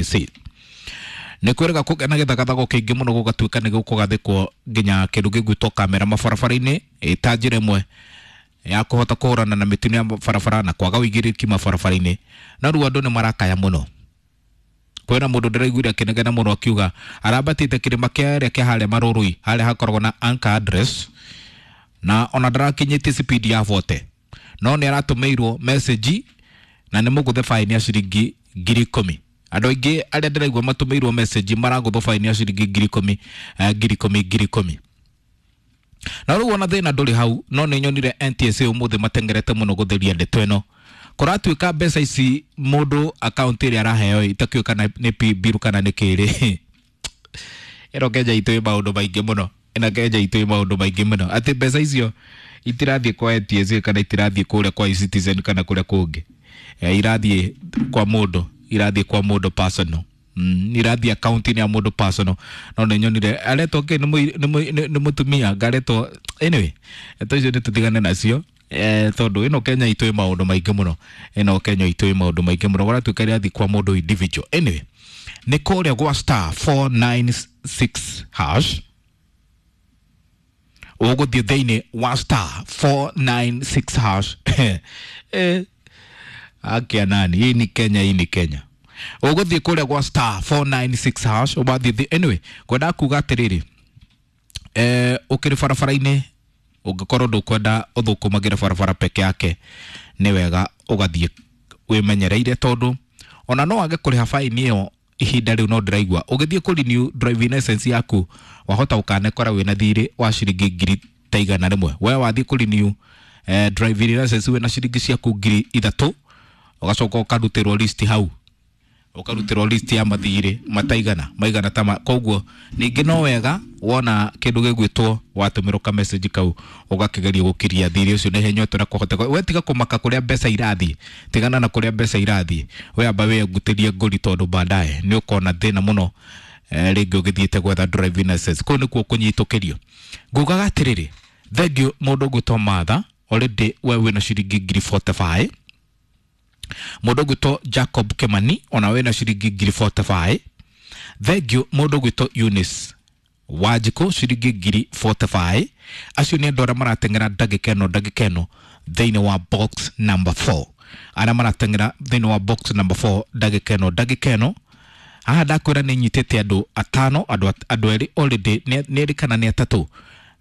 IEBC. Nĩ kwĩrĩga kũgĩa na gĩthagathago kĩingĩ mũno gũgatuĩka nĩ gũkũgathĩkwo nginya kĩndũ gĩgwĩtwo kamera mabarabara-inĩ ĩta njĩra ĩmwe ya kũhota kũhũrana na mĩtino ya barabara na kwaga ũigĩrĩrĩki mabarabara-inĩ. No rĩu andũ nĩ marakaya mũno. Kwĩna mũndũ ndĩraiguire akĩnegena mũno akiuga arambatĩte kĩrĩma kĩarĩa kĩa harĩa Marũrũi harĩa hakoragwo na anchor address na ona ndarakinyĩtie speed ya 40 no nĩ aratũmĩirwo message na nĩ mũgũthe faini ya ciringi 10,000. Andũ aingĩ arĩa ndĩraigua matũmĩirwo message maragũthwo faini ya ciringi 10,000, 10,000, 10,000. Na rĩu ona thĩna ndũrĩ hau, no nĩ nyonire NTSA ũmũthĩ matengerete mũno gũtheria ndeto ĩno. Kũratuĩka mbeca ici mũndũ akaunti ĩrĩa araheo itakĩũĩ kana nĩ biru kana nĩ kĩrĩ. Ĩno Kenya itũ ĩ maũndũ maingĩ mũno. Ĩno Kenya itũ ĩ maũndũ maingĩ mũno. Atĩ mbeca icio itirathiĩ kwa NTSA kana itirathiĩ kũrĩa kwa eCitizen kana kũrĩa kũngĩ. Irathiĩ kwa mũndũ, irathiĩ kwa mũndũ personal. Irathiĩ akaunti-inĩ ya mũndũ personal. No nĩ nyonire aretwo kĩ nĩ mũtumia ngaretwo anyway, to icio nĩ tũtigane nacio. Tondũ ĩno Kenya itũ ĩ maũndũ maingĩ mũno. Ĩno Kenya itũ ĩ maũndũ maingĩ mũno. Kũratuĩka ĩrathiĩ kwa mũndũ individual. Anyway, nĩ kũrĩa gwa star 496 hash ũgũthiĩ thĩinĩ wa star 496 hash. Akia nani, hii ni Kenya, hii ni Kenya. Ũgũthiĩ kũrĩa gwa star 496 hash ũbathiĩ. Anyway, ngwendaga kuga atĩrĩrĩ, ũkĩrĩ barabara-inĩ ũngĩkorwo ndũkwenda ũthũkũmagĩre barabara peke yake, nĩ wega ũgathiĩ wĩmenyereire tondũ ona no wage kũrĩha faini ĩyo ihinda rĩu. No ndĩraigua ũgĩthiĩ kũ renew driving license yaku wahota ũkanekora wĩna thirĩ wa ciringi 100,000. We wathiĩ kũ renew driving license wĩna ciringi ciaku 3,000, ũgacoka ũkarutĩrwo list hau, ũkarutĩrwo list ya mathirĩ mataigana maigana ta koguo ningĩ no wega wona kĩndũ gĩgwĩtwo watũmĩrwo ka message kau ũgakĩgeria gũkiria thirĩ ũcio na ihenya ũrĩa kũhoteka. We tiga kũmaka kũrĩa mbeca irathiĩ, tigana na kũrĩa mbeca irathiĩ, we amba wĩngutĩrie ngũri tondũ baadaye nĩ ũkona thĩna mũno rĩngĩ ũgĩthiĩte gwetha driving license. Kũu nĩkuo kũnyitũkĩrio. Ngugaga atĩrĩrĩ, thengiũ mũndũ ũgwĩtwo Martha already we wĩna ciringi 45,000. Mũndũ ũgwĩtwo Jacob Kimani ona wĩna ciringi 45,000. Thengiũ mũndũ ũgwĩtwo Eunice Wanjikũ ciringi 45,000. Acio nĩ andũ arĩa marateng'era ndagĩka ĩno, ndagĩka ĩno thĩinĩ wa box number 4, arĩa marateng'era thĩinĩ wa box number 4 ndagĩka ĩno, ndagĩka ĩno. Haha ndakwĩra nĩ nyitĩte andũ atano, andũ erĩ already, nĩ erĩ kana nĩ atatũ.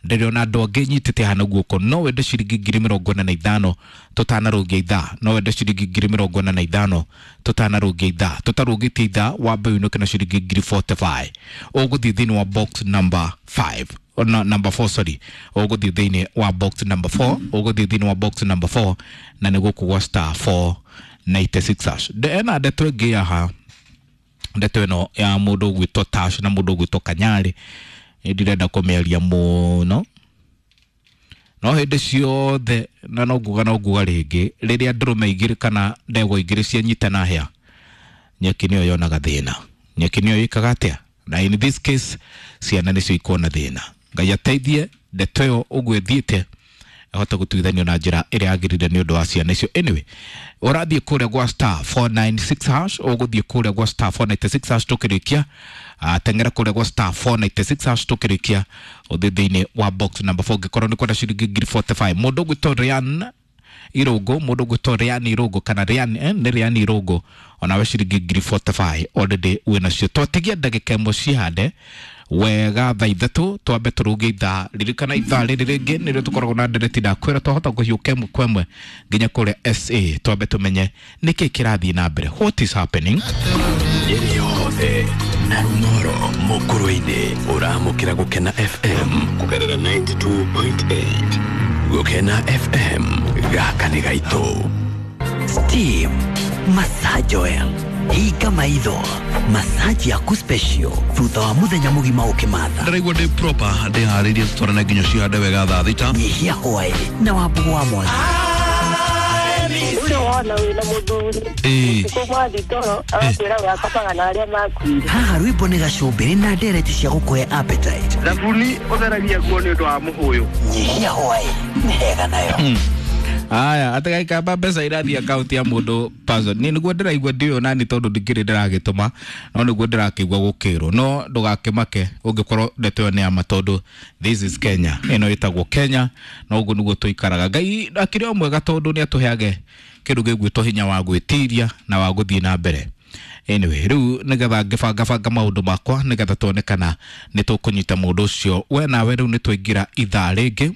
Ndĩrona andũ angĩ nyitĩte hana guoko. No wende ciringi 45,000 tũtanarũngia ithaa, no wende ciringi 45,000 tũtanarũngia ithaa, tũtarũngĩtie ithaa wambe ũinũke na ciringi 45,000. Ũgũthiĩ thĩinĩ wa box number 5 na number 4, sorry, ũgũthiĩ thĩinĩ wa box number 4, ũgũthiĩ thĩinĩ wa box number 4 na nĩ gũkũ gwa star 496 hash. Ena ndeto ĩngĩ haha, ndeto ĩno ya mũndũ ũgwĩtwo Tash na mũndũ ũgwĩtwo Kanyarĩ ndirenda kũmĩaria mũno, no hĩndĩ ciothe na no nguga, no nguga rĩngĩ, rĩrĩa ndũrũme igĩrĩ kana ndegwa igĩrĩ cianyitana hĩa, nyeki nĩyo yonaga thĩna, nyeki nĩyo ĩkaga atĩa, na in this case ciana nĩcio ikuona thĩna. Ngai ateithie ndeto ĩyo ũguo ĩthiĩte ahote gũtuithanio na njĩra ĩrĩa yagĩrĩire nĩ ũndũ wa ciana icio. Anyway, ũrathiĩ kũrĩa gwa star 496 hash, ũgũthiĩ kũrĩa gwa star 496 hash tũkĩrĩkia, teng'era kũrĩa gwa star 496 hash tũkĩrĩkia, ũthiĩ thĩinĩ wa box number 4 ũngĩkorwo nĩ kwenda ciringi 45,000. Mũndũ ũgwĩtwo Ryan Irũngũ, mũndũ ũgwĩtwo Ryan Irũngũ kana Ryan, nĩ Ryan Irũngũ, onawe ciringi 45,000 already wĩnacio. Twatigia ndagĩka ĩmwe cihande wega thaa ithatũ twambe tũrũge ithaa. Ririkana ithaa rĩrĩ rĩngĩ nĩrĩo tũkoragwo na ndereti, ndakwĩra twahota kũhiũka ĩmwe kwa ĩmwe nginya kũrĩa SA, twambe tũmenye nĩkĩ kĩrathiĩ na mbere, what is happening. Nyeri yothe na Rung'oro mũkũrũ-inĩ ũramũkĩra Gũkena FM kũgerera 92.8. Gũkena FM, gaka nĩ gaitũ. Steam Massage Oil, hinga maitho, massage yaku special thutha wa muthenya mugima ukimatha. Ndĩraigua ndĩ proper, ndĩharĩirie tũtwarane nginya cihande wega thaa thita. Nyihia hwaĩ na wambugu wa mwangi. Ũrĩa wona wĩna mũthuri ũtukũ mwathi toro agakwĩra we akomaga na arĩa makuire. Haha rwĩmbo nĩ gacumbĩrĩ na ndereti cia gũkũhe appetite. Thabuni ũtheragia nguo nĩ ũndũ wa mũhũyũ. Nyihia hwaĩ nĩ hega nayo. Aya, atagaikamba mbeca irathiĩ akaunti ya mũndũ person. Niĩ nĩguo ndĩraigua ndiũĩ nani tondũ ndikĩrĩ ndĩragĩtũma, no nĩguo ndĩrakĩigua gũkĩrwo. No ndũgakĩmake ũngĩkorwo ndeto ĩyo nĩ ya ma tondũ this is Kenya. Ĩno ĩtagwo Kenya na ũguo nĩguo tũikaraga. Ngai akĩrĩ o mwega tondũ nĩ atũheage kĩndũ gĩgwĩtwo hinya wa gwĩtiria na wa gũthiĩ na mbere. Anyway, rĩu nĩgetha ngĩbangabanga maũndũ makwa nĩgetha tuone kana nĩ tũkũnyita mũndũ ũcio. We nawe rĩu nĩ twaingĩra ithaa rĩngĩ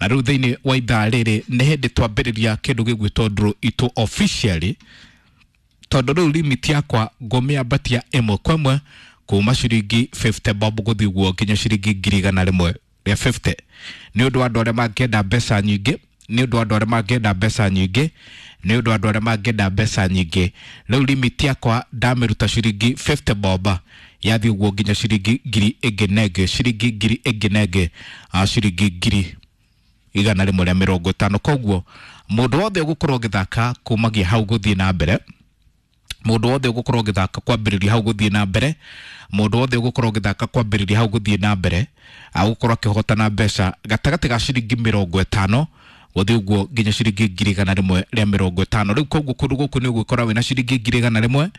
na rĩu thĩinĩ wa ithaa rĩrĩ nĩ hĩndĩ twambĩrĩria kĩndũ gĩgwĩtwo draw itũ officially, tondũ rĩu limit yakwa ngũmĩambatia ĩmwe kwa ĩmwe kuma ciringi 50 bob gũthiĩ ũguo nginya ciringi 150,000 nĩ ũndũ wa andũ arĩa mangĩenda mbeca nyingĩ, nĩ ũndũ wa andũ arĩa mangĩenda mbeca nyingĩ, nĩ ũndũ wa andũ arĩa mangĩenda mbeca nyingĩ. Rĩu limit yakwa ndamĩruta ciringi 50 bob yathiĩ ũguo nginya ciringi ngiri ĩngĩ na ĩngĩ, ciringi ngiri ĩngĩ na ĩngĩ, ciringi 150,000. Koguo mũndũ wothe ũgũkorwo ũgĩthaka kumagia hau gũthiĩ na mbere, mũndũ wothe ũgũkorwo ũgĩthaka kwambĩrĩria hau gũthiĩ na mbere, mũndũ wothe ũgũkorwo ũgĩthaka kwambĩrĩria hau gũthiĩ na mbere agũkorwo akĩhotana mbeca gatagatĩ ga ciringi 50 gũthiĩ ũguo nginya ciringi 150,000. Rĩu koguo kũndũ gũkũ nĩ ũgũkora wĩna ciringi 100,000,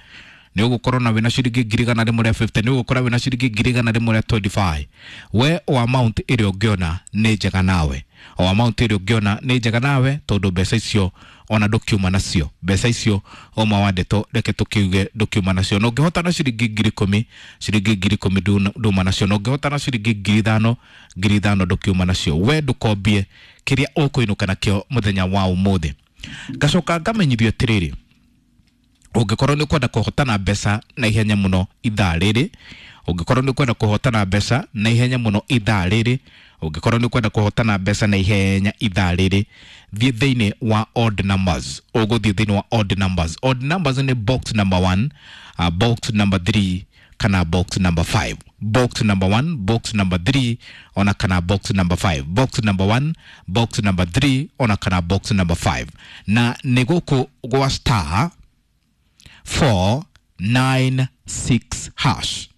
nĩ ũgũkorwo na wĩna ciringi 150,000, nĩ ũgũkora wĩna ciringi 125,000. We o amount ĩrĩa ũngĩona nĩ njega nawe, o amount ĩrĩa ũngĩona nĩ njega nawe tondũ mbeca icio ona ndũkiuma nacio, mbeca icio oma wa ndeto reke tũkiuge ndũkiuma nacio. Na ũngĩhotana ciringi 10,000, ciringi 10,000 nduma nacio, na ũngĩhotana ciringi 5,000, 5,000 ndũkiuma nacio. We ndũkombie kĩrĩa ũkũinũka nakĩo mũthenya wa ũmũthĩ. Ngacoka ngamenyithio atĩrĩrĩ, ũngĩkorwo nĩ ũkwenda kũhotana mbeca na ihenya mũno ithaa rĩrĩ, ũngĩkorwo nĩ ũkwenda kũhotana mbeca na ihenya mũno ithaa rĩrĩ, ũngĩkorwo nĩ ũkwenda kũhotana mbeca na ihenya ithaa rĩrĩ, thiĩ thĩinĩ wa odd numbers. Ũgũthiĩ thĩinĩ wa odd numbers. Odd numbers nĩ box number 1, box number 3 kana box number 5. Box number 1, box number 3 ona kana box number 5. Box number 1, box number 3 ona kana box number 5. Na nĩ gũkũ gwa star 496 hash,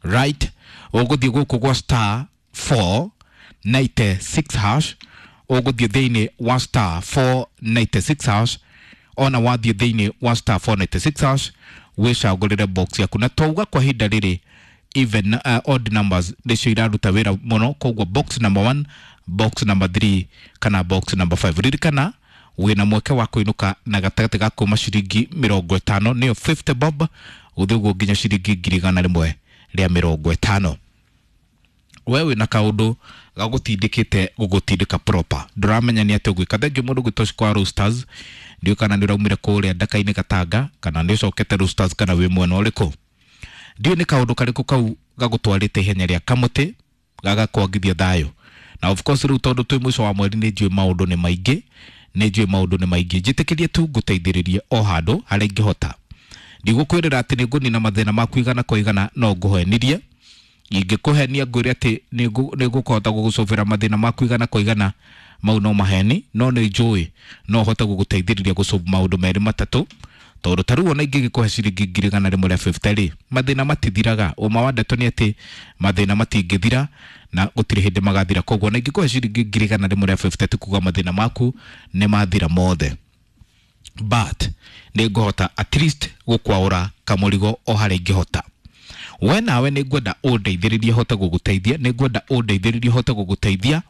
right? Ũgũthiĩ gũkũ gwa star 496 hash, ũgũthiĩ thĩinĩ wa star 496 hash, ona wathiĩ thĩinĩ wa star 496 hash wĩcagũrĩre box yaku. Na twauga kwa ihinda rĩrĩ even odd numbers nĩcio iraruta wĩra mũno, koguo box number 1, box number 3 kana box number 5. Ririkana wĩna mweke wa kũinũka na gatagatĩ ga kuma ciringi 50 nĩyo 50 bob gũthiĩ ũguo nginya ciringi 150,000. We wĩna kaũndũ gagũtindĩkĩte gũgũtindĩka proper, ndũramenya nĩ atĩa ũgwĩka. Thengiũ mũndũ gwĩtwo kwa Roosters, ndiũĩ kana nĩ ũraumire kũrĩa ndaka-inĩ Gatanga kana nĩ ũcokete Roosters kana wĩ mwena ũrĩkũ. Ndiũĩ nĩ kaũndũ karĩkũ kau gagũtwarĩte ihenya rĩa kamũtĩ gagakwagithia thayũ. Na of course rĩu tondũ twĩ mũico wa mweri nĩ njũĩ maũndũ nĩ maingĩ, nĩ njũĩ maũndũ nĩ maingĩ. Njĩtĩkĩrie tu ngũteithĩrĩrie o handũ harĩa ingĩhota. Ndigũkwĩrĩra atĩ nĩ ngũnina mathĩna maku igana kwa igana, no ngũhenirie. Ingĩkũhenia ngwĩre atĩ nĩ ngũkũhota gũgũcũbĩra mathĩna maku igana kwa igana, mau no maheni, no nĩ njũĩ no hote gũgũteithĩrĩria gũcũb maũndũ merĩ matatũ. Tondũ ta rĩu ona ingĩgĩkũhe ciringi 150,000 rĩ, mathĩna matithiraga. Ũma wa ndeto nĩ atĩ mathĩna matingĩthira na gũtirĩ hĩndĩ magathira. Koguo ona ingĩkũhe ciringi 150,000 ti kuga mathĩna maku nĩ mathira mothe, but nĩ ngũhota at least gũkwaũra kamũrigo o harĩa ingĩhota. We nawe nĩ ngwenda ũndeithĩrĩrie hote gũgũteithia, nĩ ngwenda ũndeithĩrĩrie hote gũgũteithia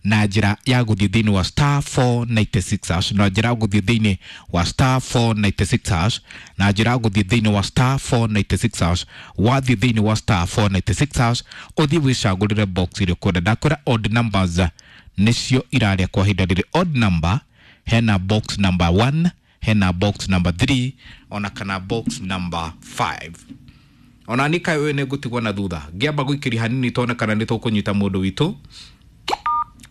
na njĩra ya gũthiĩ thĩinĩ wa star 496 hash, na njĩra ya gũthiĩ thĩinĩ wa star 496 hash, na njĩra ya gũthiĩ thĩinĩ wa star 496 hash. Wathiĩ thĩinĩ wa star 496 hash ũthiĩ wĩcagũrĩre box ĩrĩa ũkwenda. Ndakwĩra odd numbers nĩcio irarĩa kwa ihinda rĩrĩ. Odd number hena box number 1, hena box number 3 ona kana box number 5. Ona nĩ kaĩ ũyũ nĩ ngũtigwo na thutha, ngĩamba gũikĩria hanini tuone kana nĩ tũkũnyita mũndũ witũ.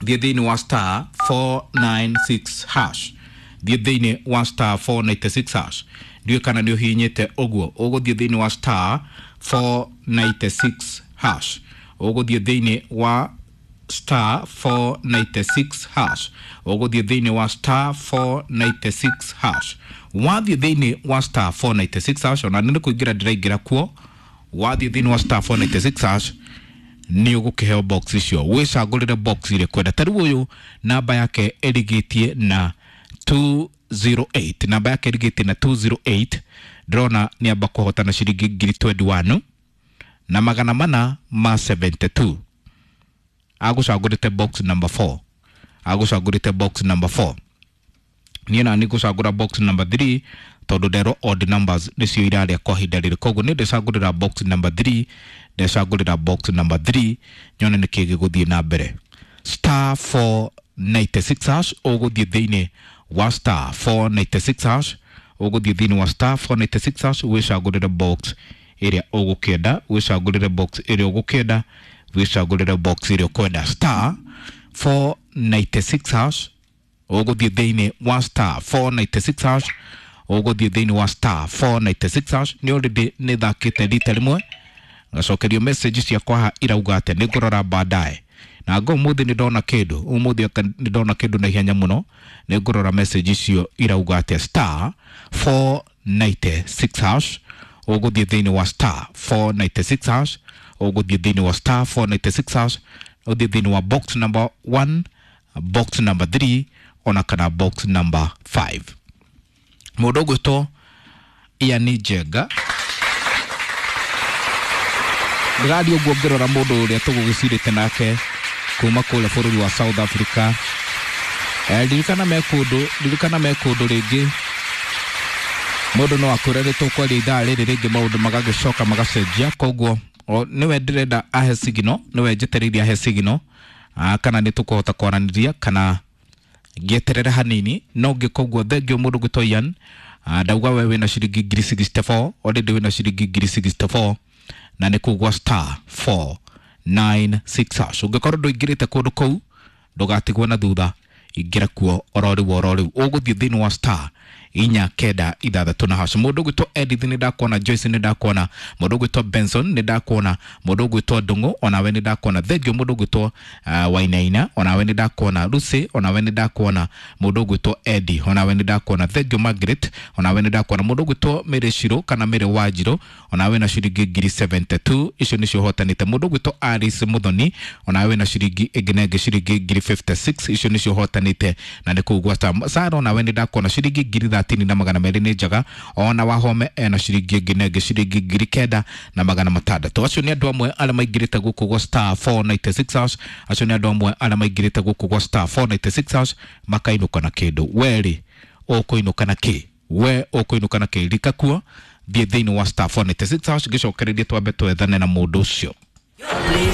Thiĩ thĩinĩ wa star 496 hash, thiĩ thĩinĩ wa star 496 hash. Ndiũĩ kana nĩ ũhihinyĩte ũguo. Ũgũthiĩ thĩinĩ wa star 496 hash, ũgũthiĩ thĩinĩ wa star 496 hash, ũgũthiĩ thĩinĩ wa star 496 hash. Wathiĩ thĩinĩ wa star 496 hash, ona nĩ kũingĩra ndĩraingĩra kuo. Wathiĩ thĩinĩ wa star 496 hash Nĩ ũgũkĩheo box icio, wĩcagũrĩre box ĩrĩa kwenda. Ta rĩu ũyũ namba yake ĩrigĩtie na 208, namba yake ĩrigĩtie na 208. Ndĩrona nĩ amba kũhotana ciringi ngiri 21 na magana mana ma 72. Agũcagũrĩte box number 4, agũcagũrĩte box number 4. Niĩ na nĩ ngũcagũra box number 3 tondũ nderwo odd numbers nĩcio irarĩa kwa ihinda rĩrĩ. Koguo nĩ ndĩcagũrĩra box number 3, ndecagũrĩra box number 3, nyone nĩkĩ gĩgũthiĩ na mbere. Star 496 hash, ũgũthiĩ thĩinĩ wa star 496 hash, ũgũthiĩ thĩinĩ wa star 496 hash, wĩcagũrĩre box ĩrĩa ũgũkĩenda, wĩcagũrĩre box ĩrĩa ũgũkĩenda, wĩcagũrĩre box ĩrĩa ũkwenda. Star 496 hash, ũgũthiĩ thĩinĩ wa star 496 hash, ũgũthiĩ thĩinĩ wa star 496 hash. Nĩ already nĩ thakĩte rita rĩmwe, ngacokerio message ciakwa haha irauga atĩ nĩ ngũrora baadaye. Na ngo ũmũthĩ nĩ ndona kĩndũ, ũmũthĩ nĩ ndona kĩndũ na ihenya mũno. Nĩ ngũrora message icio irauga atĩ. Star 496 hash, ũgũthiĩ thĩinĩ wa star 496 hash, ũgũthiĩ thĩinĩ wa star 496 hash, ũthiĩ thĩinĩ wa box number 1, box number 3 ona kana box number 5. Mũndũ ũgwĩtwo Ian Njenga, ndĩrathiĩ ũguo ngĩrora mũndũ ũrĩa tũgũgĩcirĩte nake kuma kũrĩa bũrũri wa South Africa. Ririkana me kũndũ, ririkana me kũndũ rĩngĩ. Mũndũ no akwĩre nĩ tũkwaria ithaa rĩrĩ rĩngĩ, maũndũ magagĩcoka magacenjia. Koguo nĩwe ndĩrenda ahe signal, nĩwe njetereire ahe signal kana nĩ tũkũhota kwaranĩria kana ngĩeterere hanini. No ngĩka ũguo, thengio mũndũ gwĩtwo Ian. Ndauga we wĩna ciringi ngiri 64 already, wĩna ciringi ngiri 64 na nĩ kũgwa star 496 hash. Ũngĩkorwo ndũingĩrĩte kũndũ kũu, ndũgatigwo na thutha, ingĩra kuo oro rĩu, oro rĩu. Ũgũthiĩ thĩinĩ wa star 496 na hash. Mũndũ ũgwĩtwo Edith nĩ ndakuona, Joyce nĩ ndakuona, mũndũ ũgwĩtwo Benson nĩ ndakuona, mũndũ ũgwĩtwo Ndung'u onawe nĩ ndakuona. Thengio mũndũ ũgwĩtwo Wainaina, onawe nĩ ndakuona. Lucy, onawe nĩ ndakuona. Mũndũ ũgwĩtwo Eddie, onawe nĩ ndakuona. Thengio Margaret, onawe nĩ ndakuona. Mũndũ ũgwĩtwo Mary Shiro kana Mary Wanjirũ, onawe na ciringi ngiri 72 icio nĩcio ũhotanĩte. Mũndũ ũgwĩtwo Alice Muthoni, onawe na ciringi ĩngĩ na ĩngĩ ciringi ngiri 56 icio nĩcio ũhotanĩte na nĩ kũu gwata. Sara, onawe nĩ ndakuona, ciringi ngiri 30 na magana merĩ nĩ njega. Ona Wahome ena ciringi ĩngĩ na ĩngĩ ciringi ngiri 9600. Acio nĩ andũ amwe arĩa maingĩrĩte gũkũ gwa star 496 hash. Acio nĩ andũ amwe arĩa maingĩrĩte gũkũ gwa star 496 hash makainũka na kĩndũ. Werĩ ũkũinũka na kĩ? We ũkũinũka na kĩ? Rika kuo, thiĩ thĩinĩ wa star 496 hash, ngĩcokererie twambe twethane na mũndũ ũcio. Play.